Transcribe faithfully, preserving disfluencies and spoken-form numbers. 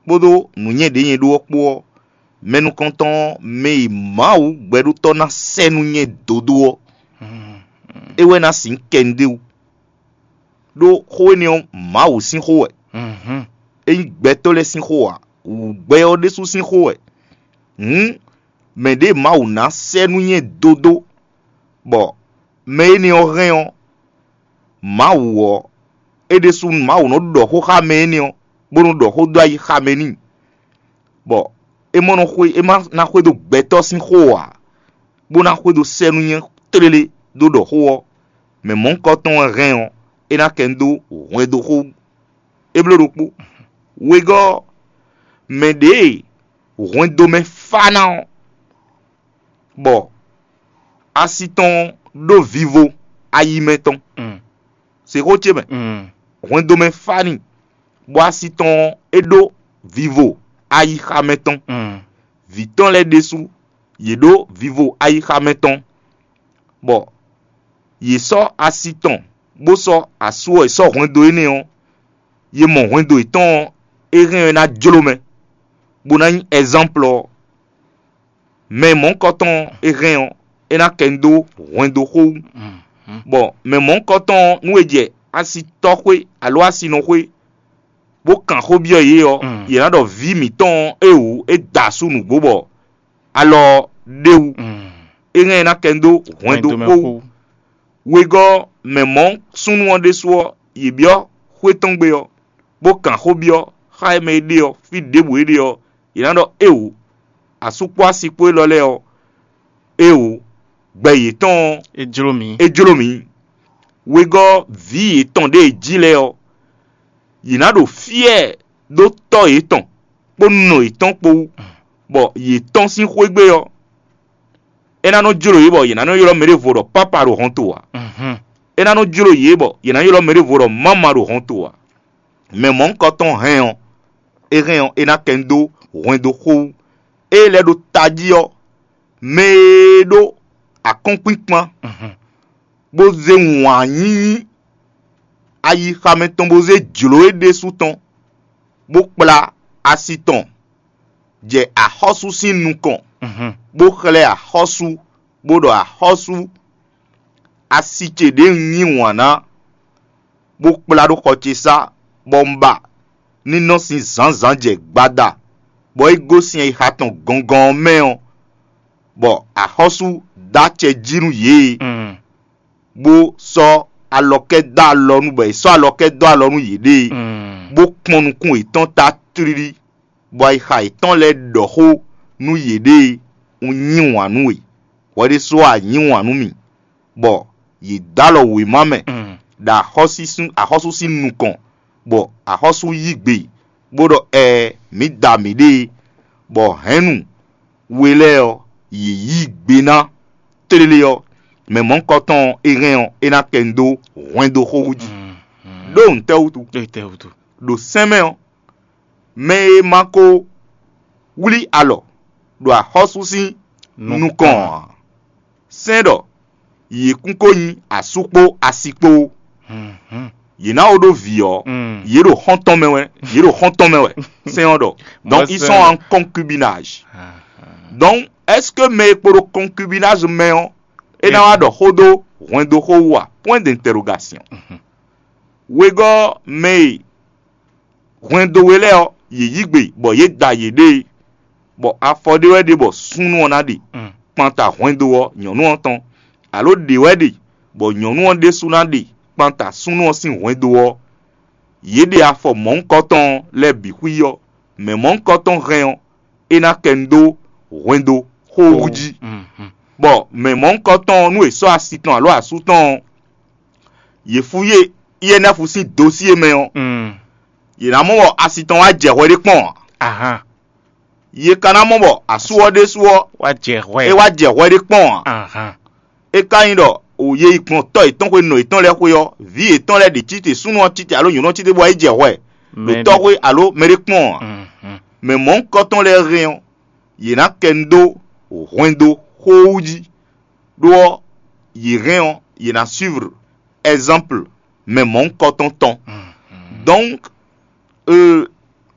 kpódó nǔnywɛ́ ɖě nyɛ ɖó ɔ́ kpó ɔ́, mɛ nukɔntɔn ɔ́, mɛ e Mawu gbɛɖótɔ́ ná sɛ́ nú nyɛ dodó ɔ́, é wɛ ná sixú kɛ nu ɖ'é wú. Ɖó xó énɛ́ ɔ́, Mawu sín xó wɛ; é nyí gbɛtɔ́ lɛ́ɛ sín xó ǎ; wǔ gbɛ ɔ́ ɖésú sín xó wɛ. Hǔn mɛ ɖě Mawu ná sɛ́ nú nyɛ dodó, bɔ mɛ énɛ́ ɔ́ hɛn ɔ́, Mawu ɔ́, é ɖésú Mawu nɔ ɖɔ xó xá mɛ énɛ́ ɔ́, bó nɔ ɖɔ xó dó ayi xá mɛ n'i, bɔ é mɔ nɔ xwe é ma ná xwedó gbɛtɔ́ sín xó ǎ, bó ná xwedó sɛ́ nú nyɛ tlélé dó ɖɔ xó ɔ́, mɛ mɔ̌hunkɔtɔn wɛ hɛn ɔ́, é ná kɛ nu dó hwɛndo xó wú. É bló ɖokpó. Wegɔ́ ɔ́, mɛ ɖě e hwɛndo mɛ fá ná ɔ́, bɔ asi tɔn ɖó vivo ayi mɛ tɔn. Se xó ce mɛ. Hwɛndo mɛ fá n'i, bɔ asi tɔn ɔ́, é ɖó vivo ayixa mɛ tɔn. Vǐ tɔn lɛ́ɛ ɖésú, yě ɖó vivo ayixa mɛ tɔn, bɔ yě sɔ́ asi tɔn, bó sɔ́ asú ɔ́ e sɔ́ hwɛndo énɛ́ ɔ́, yě mɔ hwɛndo yětɔn ɔ́, é hɛn ɔ́ é ná jló mɛ, bó ná nyí ɛzánplɔ ɔ́. Mɛ mɔ̌hunkɔtɔn e hɛn ɔ́, é ná kɛ nu dó hwɛndo xó wú. Bɔ mɛ mɔ̌hunkɔtɔn ɔ́, nú è jɛ asitɔ́xwé alo asinɔxwé, bó kan xó byɔ́ yě ɔ́, yě ná ɖɔ vǐ mǐtɔn ɔ́, é wǔ é da asú nǔgbó bɔ alɔ ɔ́ ɖ'é wú. É hɛn ɛ ná kɛ nu dó hwɛndo xó wú. Wegɔ́ ɔ́, mɛ mɔ̌ súnnu ɔ́ ɖésú ɔ́, yě byɔ́ xwé tɔn gbe ɔ́, bó kan xó byɔ́ xá e mɛ e ɖe ɔ́, fí ɖěbǔ é ɖe ɔ́, yě ná ɖɔ éeǒ. Asú kpó asi kpó élɔ́ lɛ́ɛ ɔ́, éeǒ, gbɛ yětɔn ɔ́, é jló mǐ. É jló mǐ. Wegɔ́ vǐ yětɔn ɖě e jí lɛ́ɛ ɔ́, yě ná ɖo fyɛ́ɛ ɖó tɔ́ yětɔn kpó nɔ yětɔn kpó wú, bɔ yě tɔ́n sín xwé gbe ɔ́, é ná nɔ jló yě bɔ yě ná nɔ ylɔ́ mɛɖěvo ɖɔ pápa ɖo hɔnto ǎ. É ná nɔ jló yě bɔ yě ná ylɔ́ mɛɖěvo ɖɔ máma ɖo hɔnto ǎ. Mɛ mɔ̌hunkɔtɔn hɛn ɔ́, é hɛn ɔ́, é ná kɛ nu dó hwɛndo xó wú. Ée lɛ́ ɖo tají ɔ́, mɛ e ɖó akɔ́nkpinkpan, bó zé wǎn yíyí ayixa mɛ tɔn bó zé jlǒ é ɖésú tɔn, bó kplá asi tɔn jɛ axɔ́sú sín nukɔn, bó xlɛ́ axɔ́sú, bó ɖɔ axɔ́sú, asi ce ɖě un yí wǎn ná, bó kplá ɖó xɔ ce sá, bɔ un ba ní nɔ sín zǎnzǎn jɛ gbada, bɔ é gosín ayixa tɔn gɔngɔn ɔ́ mɛ ɔ́, bɔ axɔ́sú dó acɛ jí nú yě, bó sɔ́ alɔkɛ́ dó alɔ nú bɔ è sɔ́ alɔkɛ́ dó alɔ nú yěɖée, bó kpɔ́n nukún yětɔn ta tlílí, bɔ ayixa yětɔn lɛ́ɛ ɖɔ xó nú yěɖée, un yí wǎn nú we, hwɛ ɖésú ɔ́ a yí wǎn nú mì, bɔ yě dó alɔ wěma mɛ, ɖo axɔ́sú sín nukɔn, bɔ axɔ́sú yí gbe, bó ɖɔ ɛɛ, mǐ da mǐɖée, bɔ hɛ̌nnu we lɛ́ɛ ɔ́, yě yí gbe ná. Tlélé ɔ́, mɛ mɔ̌hunkɔtɔn e hɛn ɔ́, é ná kɛ nu dó hwɛndo xó wú jí. Ɖó ntɛ́ wútu? Ɖo sɛ́n mɛ ɔ́, mɛ e ma ko wlí alɔ ɖo axɔ́sú sín nukɔn ǎ, sɛ́n ɖɔ yě kún ko nyí asú kpó asi kpó. Yě ná wo ɖó vǐ ɔ́, yě ɖo xɔ́ntɔn mɛ wɛ, yě ɖo xɔ́ntɔn mɛ wɛ. Sɛ́n ɔ́ ɖɔ. Donc ils sont en concubinage. Donc est-ce que mɛ e kpo ɖo concubinage mɛ ɔ́, é ná wá ɖɔ xó dó hwɛndo xó wú a? Point d'interrogation. Wegɔ́ mɛ e hwɛndo we lɛ́ɛ ɔ́, yě yí gbe bɔ yě da yěɖée, bɔ afɔ ɖé wɛ ɖe bɔ súnnu ɔ́ ná ɖe kpanta hwɛndo ɔ́ nyɔ̌nu ɔ́ tɔn, alo ɖě wɛ ɖe bɔ nyɔ̌nu ɔ́ ɖésú ná ɖe kpanta súnnu ɔ́ sín hwɛndo ɔ́, yě ɖe afɔ mɔ̌hunkɔtɔn lɛ́ɛ bǐ xwí ɔ́, mɛ mɔ̌hunkɔtɔn hɛn ɔ́, é ná kɛ nu dó hwɛndo xó wú jí. Bɔ mɛ mɔ̌hunkɔtɔn ɔ́, nú è sɔ́ asi tɔn alo asú tɔn ɔ́, yě fú yé I N F sín dosíé mɛ ɔ́, yě ná mɔ bɔ asi tɔn wá jɛ hwɛ ɖé kpɔ́n ǎ. Ahan. Yě ka ná mɔ bɔ asú ɔ́ ɖésú ɔ́, Wá jɛ hwɛ. É wá jɛ hwɛ ɖé kpɔ́n ǎ. Ahan. É ka nyí ɖɔ o ye yi gbɔn tɔ́ yětɔn xwé nɔ yětɔn lɛ́ɛ xwé ɔ́, vǐ yětɔn lɛ́ɛ ɖě cí te, súnnu ɔ́ cí te alo nyɔ̌nu ɔ́ cí te bɔ é jɛ hwɛ ɖo Mɛ tɔ́ xwé alo mɛ ɖé kpɔ́n ǎ. Mhm. Mɛ mɔ̌hunkɔtɔn lɛ́ɛ hɛn ɔ́, yě ná kɛ nu dó hwɛndo xó wú jí, ɖó ɔ́, yě hɛn ɔ́, yě ná suivre exemple mɛ mɔ̌hunkɔtɔn tɔn. Donc, euh,